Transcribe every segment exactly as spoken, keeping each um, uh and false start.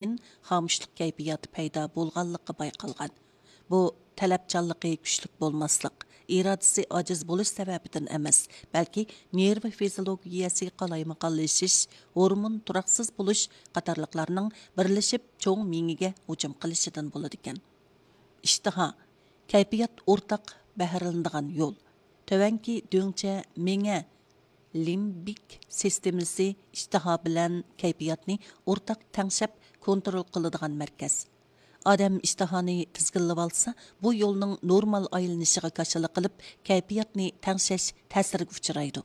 كېيىن خامۇشلۇق كەيپىياتى پەيدا بولغانلىقى بايقالغان. بۇ تەلەپچانلىقى كۈچلۈك بولماسلىق، ئىرادىسى ئاجىز بولۇش سەۋەبىدىن ئەمەس، بەلكى نېرۋا فىزىولوگىيەسى قالايمىقانلىشىش، ھورمون تۇراقسىز بولۇش قاتارلىقلارنىڭ بىرلىشىپ چوڭ مېڭىگە ھۇجۇم قىلىشىدىن بولىدىكەن. ئىشتىھا، كەيپىيات ئورتاق بەھرىلىنىدىغان يول. تۆۋەنكى دۆڭچە مېڭە لىمبىك سىستېمىسى ئىشتىھا بىلەن كەيپىياتنى ئورتاق تەڭشەپ كونترول قىلىدىغان مەركەز. ئادەم ئىشتىھانى تىزگىنلىۋالسا، بۇ يولنىڭ نورمال ئايلىنىشىغا كاشىلا قىلىپ، كەيپىياتنى تەڭشەش تەسىرىگە ئۇچرايدۇ.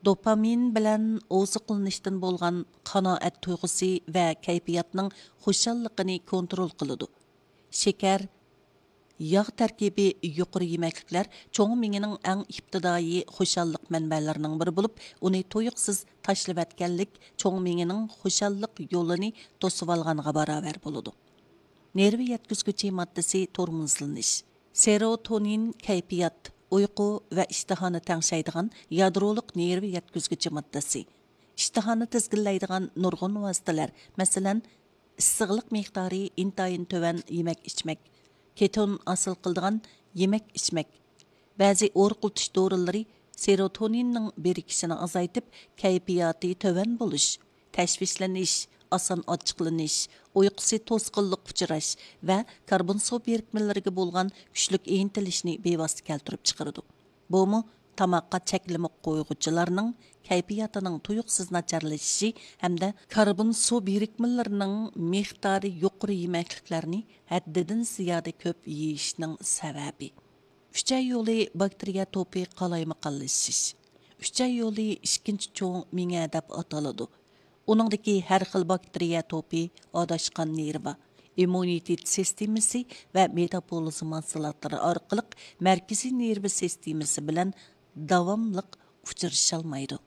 دوپامىن بىلەن ئوزۇقلىنىشتىن بولغان قانائەت تۇيغۇسى ۋە كەيپىياتنىڭ خۇشاللىقىنى كونترول قىلىدۇ. شېكەر، ياغ تەركىبى يۇقىرى يېمەكلىكلەر چوڭ مېڭىنىڭ ئەڭ ئىپتىدائىي خۇشاللىق مەنبەلىرىنىڭ بىرى بولۇپ، ئۇنى تۇيۇقسىز تاشلىۋەتكەنلىك چوڭ مېڭىنىڭ خۇشاللىق يولىنى توسۇۋالغانغا باراۋەر بولىدۇ. نېرۋا يەتكۈزگۈچى ماددىسى تورمۇزلىنىش. سېروتونىن كەيپىيات، ئۇيقۇ ۋە ئىشتىھانى تەڭشەيدىغان يادرولۇق نېرۋا يەتكۈزگۈچى ماددىسى. ئىشتىھانى تىزگىنلەيدىغان نۇرغۇن ۋاسىتىلەر، مەسىلەن، ئىسسىقلىق مىقدارى ئىنتايىن تۆۋەن يېمەك-ئىچمەك، كېتون ھاسىل قىلىدىغان يېمەك-ئىچمەك، بەزى ئورۇقلىتىش دورىلىرى سېروتونىننىڭ بىرىكىشىنى ئازايتىپ، كەيپىياتى تۆۋەن بولۇش، تەشۋىشلىنىش، ئاسان ئاچچىقلىنىش، ئۇيقۇسى توسقۇنلۇققا ئۇچراش ۋە كاربون سۇ بىرىكمىلىرىگە بولغان كۈچلۈك ئىنتىلىشنى بىۋاسىتە كەلتۈرۈپ چىقىرىدۇ. بۇمۇ تاماققا چەكلىمە قويغۇچىلارنىڭ كەيپىياتىنىڭ تۇيۇقسىز ناچارلىشىشى ھەمدە كاربون سۇ بىرىكمىلىرىنىڭ مىقدارى يۇقىرى يېمەكلىكلەرنى ھەددىدىن زىيادە كۆپ يېيىشنىڭ سەۋەبى. ئۈچەي يولى باكتېرىيە توپى قالايمىقانلىشىش. ئۈچەي يولى ئىككىنچى چوڭ مېڭە دەپ ئاتىلىدۇ. ئۇنىڭدىكى ھەر خىل باكتېرىيە توپى ئاداشقان نېرۋا، ئىممۇنىتېت سىستېمىسى ۋە مېتابولىزم ھاسىلاتلىرى ئارقىلىق مەركىزىي نېرۋا سىستېمىسى بىلەن داۋاملىق ئۇچرىشالمايدۇ.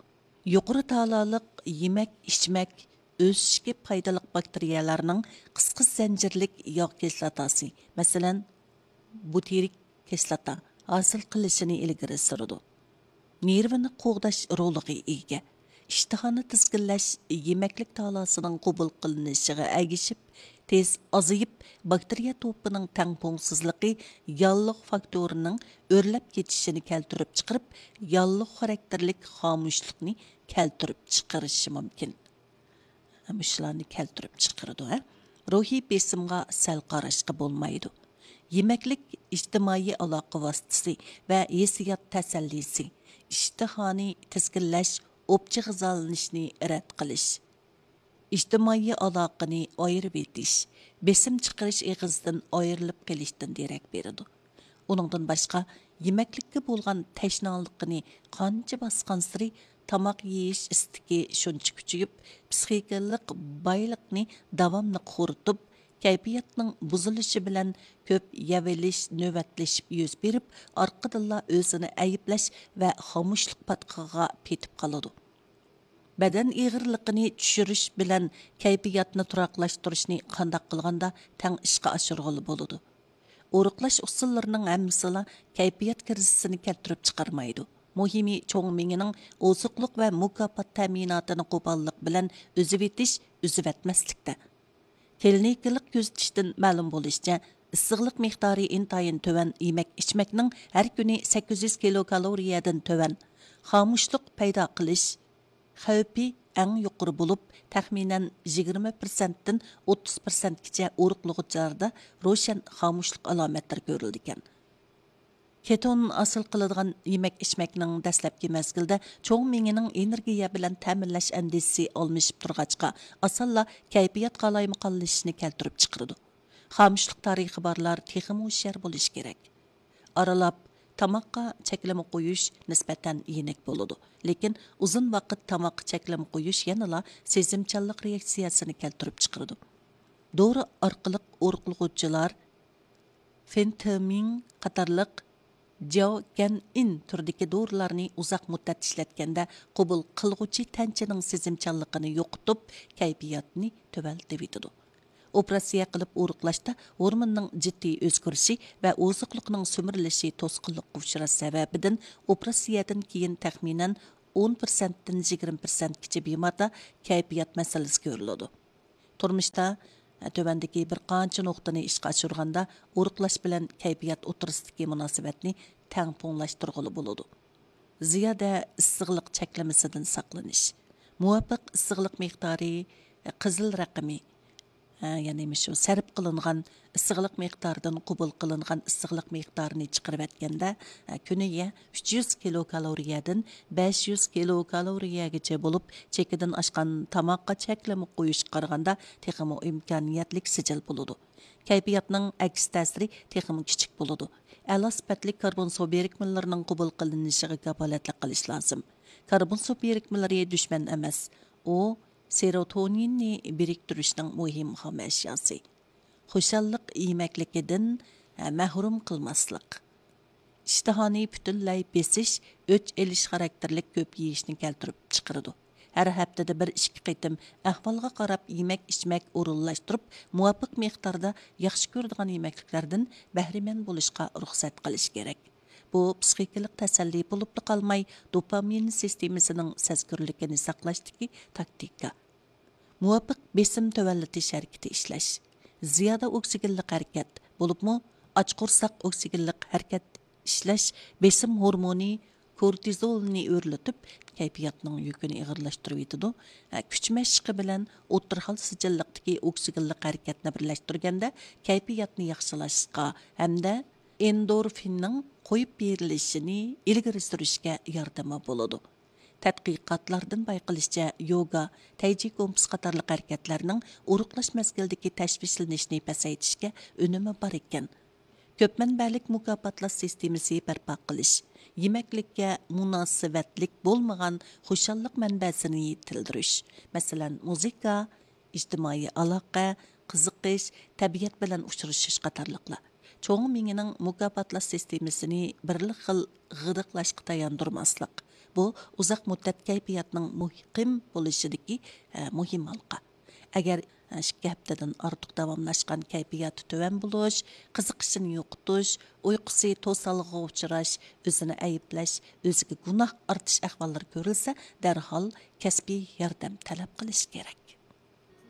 يۇقىرى تالالىق يېمەك-ئىچمەك ئۆسۈشكە پايدىلىق باكتېرىيەلەرنىڭ قىسقا زەنجىرلىك ياغ كىسلاتاسى، مەسىلەن، بۇتىرىك كىسلاتا ھاسىل قىلىشىنى ئىلگىرى سۈرىدۇ. نېرۋىنى قوغداش رولىغا ئىگە. ئىشتىھانى تىزگىنلەش يېمەكلىك تالاسىنىڭ قوبۇل قىلىنىشىغا ئەگىشىپ، تېز ئازىيىپ، باكتېرىيە توپىنىڭ تەڭپۇڭسىزلىقى ياللۇغ فاكتورىنىڭ ئۆرلەپ كېتىشىنى كەلتۈرۈپ چىقىرىپ، ياللۇغ خاراكتېرلىك خامۇشلۇقنى كەلتۈرۈپ چىقىرىشى مۇمكىن. مۇشۇلارنى كەلتۈرۈپ چىقىرىدۇ، ھە. روھىي بېسىمغا سەل قاراشقا بولمايدۇ. يېمەكلىك ئىجتىمائىي ئالاقە ۋاسىتىسى ۋە ھېسسىيات تەسەللىسى، ئىشتىھانى تىزگىنلەش، ئوپچە غىزالىنىشنى رەت قىلىش. ئىجتىمائىي ئالاقىنى ئايرىۋېتىش، بېسىم چىقىرىش ئېغىزىدىن ئايرىلىپ قېلىشتىن دېرەك بېرىدۇ. ئۇنىڭدىن باشقا، يېمەكلىككە بولغان تەشنالىقىنى قانچە باسقانسېرى، تاماق يېيىش ئىستىكى شۇنچە كۈچىيىپ، پىسخىكىلىق بايلىقنى داۋاملىق خورىتىپ، كەيپىياتنىڭ بۇزۇلۇشى بىلەن كۆپ يەۋېلىش، نۆۋەتلىشىپ يۈز بېرىپ، ئارقىدىنلا ئۆزىنى ئەيىبلەش ۋە خامۇشلۇق پاتقىقىغا پېتىپ قالىدۇ. بەدەن ئېغىرلىقىنى چۈشۈرۈش بىلەن كەيپىياتنى تۇراقلاشتۇرۇشنى قانداق قىلغاندا تەڭ ئىشقا ئاشۇرغىلى بولىدۇ؟ ئورۇقلاش ئۇسۇللىرىنىڭ ھەممىسىلا كەيپىيات كىرىزىسىنى كەلتۈرۈپ چىقارمايدۇ. مۇھىمى، چوڭ مېڭىنىڭ ئوزۇقلۇق ۋە مۇكاپات تەمىناتىنى قوپاللىق بىلەن ئۈزۈۋېتىش، ئۈزۈۋەتمەسلىكتە. كلىنىكىلىق كۆزىتىشتىن مەلۇم بولۇشىچە، ئىسسىقلىق مىقدارى ئىنتايىن تۆۋەن يېمەك-ئىچمەكنىڭ ھەر كۈنى سەككىز يۈز كىلوكالورىيەدىن تۆۋەن، خامۇشلۇق پەيدا قىلىش خەۋپى ئەڭ يۇقىرى بولۇپ، تەخمىنەن يىگىرمە پىرسەنتتىن ئوتتۇز پىرسەنتكىچە ئورۇقلىغۇچىلاردا روشەن خامۇشلۇق ئالامەتلىرى كۆرۈلىدىكەن. كېتون ھاسىل قىلىدىغان يېمەك-ئىچمەكنىڭ دەسلەپكى مەزگىلدە چوڭ مېڭىنىڭ ئېنېرگىيە بىلەن تەمىنلەش ئەندىزىسى ئالمىشىپ تۇرغاچقا، ئاسانلا كەيپىيات قالايمىقانلىشىشنى كەلتۈرۈپ چىقىرىدۇ. خامۇشلۇق تارىخى بارلار تېخىمۇ ھوشيار بولۇشى كېرەك. ئارىلاپ تاماققا چەكلىمە قويۇش نىسبەتەن يېنىك بولىدۇ، لېكىن ئۇزۇن ۋاقىت تاماققا چەكلىمە قويۇش يەنىلا سېزىمچانلىق رېئاكسىيەسىنى كەلتۈرۈپ چىقىرىدۇ. دورا ئارقىلىق ئورۇقلىغۇچىلار فېنتېمىن قاتارلىق جياۋگەنئىن تۈرىدىكى دورىلارنى ئۇزاق مۇددەت ئىشلەتكەندە، قوبۇل قىلغۇچى تەنچىنىڭ سېزىمچانلىقىنى يوقىتىپ، كەيپىياتنى تۆۋەنلىتىۋېتىدۇ. ئوپېراتسىيە قىلىپ ئورۇقلاشتا ھورموننىڭ جىددىي ئۆزگىرىشى ۋە ئوزۇقلۇقنىڭ سۈمۈرۈلۈشى توسقۇنلۇققا ئۇچراش سەۋەبىدىن، ئوپېراتسىيەدىن كېيىن تەخمىنەن ئون پىرسەنتتىن يىگىرمە پىرسەنتكىچە بىماردا كەيپىيات مەسىلىسى كۆرۈلىدۇ. تۇرمۇشتا، ھە، تۆۋەندىكى بىر قانچە نۇقتىنى ئىشقا ئاشۇرغاندا، ئورۇقلاش بىلەن كەيپىيات ئوتتۇرىسىدىكى مۇناسىۋەتنى تەڭپۇڭلاشتۇرغىلى بولىدۇ. زىيادە ئىسسىقلىق چەكلىمىسىدىن ساقلىنىش. مۇۋاپىق ئىسسىقلىق مىقدارى، قىزىل رەقىمى، ھە، يەنى مۇشۇ سەرپ قىلىنغان ئىسسىقلىق مىقدارىدىن قوبۇل قىلىنغان ئىسسىقلىق مىقدارىنى چىقىرىۋەتكەندە، ھە، كۈنىگە ئۈچ يۈز كىلوكالورىيەدىن بەش يۈز كىلوكالورىيەگىچە بولۇپ، چېكىدىن ئاشقان تاماققا چەكلىمە قويۇشقا قارىغاندا تېخىمۇ ئىمكانىيەتلىك سىجىل بولىدۇ. كەيپىياتنىڭ ئەكس تەسىرى تېخىمۇ كىچىك بولىدۇ. ئەلا سۈپەتلىك كاربون سۇ بىرىكمىلىرىنىڭ قوبۇل قىلىنىشىغا كاپالەتلىك قىلىش لازىم. كاربون سۇ بىرىكمىلىرى دۈشمەن ئەمەس، ئۇ سېروتونىننى بىرىكتۈرۈشنىڭ مۇھىم خام ئەشياسى. خۇشاللىق يېمەكلىكىدىن، ھە، مەھرۇم قىلماسلىق. ئىشتىھانى پۈتۈنلەي بېسىش، ئۆچ ئېلىش خاراكتېرلىك كۆپ يېيىشنى كەلتۈرۈپ چىقىرىدۇ. ھەر ھەپتىدە بىر ئىككى قېتىم ئەھۋالغا قاراپ يېمەك ئىچمەك ئورۇنلاشتۇرۇپ، مۇۋاپىق مىقداردا ياخشى كۆرىدىغان يېمەكلىكلەردىن بەھرىمەن بولۇشقا رۇخسەت قىلىش كېرەك. بۇ پسىخىكىلىق تەسەللى بولۇپلا قالماي، دوپامىن سىستېمىسىنىڭ سەزگۈرلۈكىنى ساقلاشتىكى تاكتىكا. مۇۋاپىق بېسىم تۆۋەنلىتىش ھەرىكىتى ئىشلەش. زىيادە ئوكسىگېنلىق ھەرىكەت، بولۇپمۇ ئاچ قورساق ئوكسىگېنلىق ھەرىكەت ئىشلەش بېسىم ھورمونى كورتىزولنى ئۆرلىتىپ، كەيپىياتنىڭ يۈكىنى ئېغىرلاشتۇرۇۋېتىدۇ. ھە، كۈچ مەشقى بىلەن ئوتتۇرا خىل سىجىللىقتىكى ئوكسىگېنلىق ھەرىكەتنى بىرلەشتۈرگەندە، كەيپىياتنى ياخشىلاشقا ھەمدە ئېندورفىننىڭ قويۇپ بېرىلىشىنى ئىلگىرى سۈرۈشكە ياردىمى بولىدۇ. تەتقىقاتلاردىن بايقىلىشىچە، يوگا، تەيجى گومپىس قاتارلىق ھەرىكەتلەرنىڭ ئورۇقلاش مەزگىلىدىكى تەشۋىشلىنىشنى پەسەيتىشكە ئۈنۈمى بار ئىكەن. كۆپ مەنبەلىك مۇكاپاتلاش سىستېمىسى بەرپا قىلىش، يېمەكلىككە مۇناسىۋەتلىك بولمىغان خۇشاللىق مەنبەسىنى يېتىلدۈرۈش، مەسىلەن، مۇزىكا، ئىجتىمائىي ئالاقە، قىزىقىش، تەبىئەت بىلەن ئۇچرىشىش قاتارلىقلار. چوڭ مېڭىنىڭ مۇكاپاتلاش سىستېمىسىنى بىرلا خىل غىدىقلاشقا تاياندۇرماسلىق، بۇ ئۇزاق مۇددەت كەيپىياتنىڭ مۇقىم بولۇشىدىكى، ئە، مۇھىم ھالقا. ئەگەر، ئە، ئىككى ھەپتىدىن ئارتۇق داۋاملاشقان كەيپىياتى تۆۋەن بولۇش، قىزىقىشىنى يوقىتىش، ئۇيقۇسى توسالغۇغا ئۇچراش، ئۆزىنى ئەيىبلەش، ئۆزىگە گۇناھ ئارتىش ئەھۋاللىرى كۆرۈلسە، دەرھال كەسپىي ياردەم تەلەپ قىلىش كېرەك.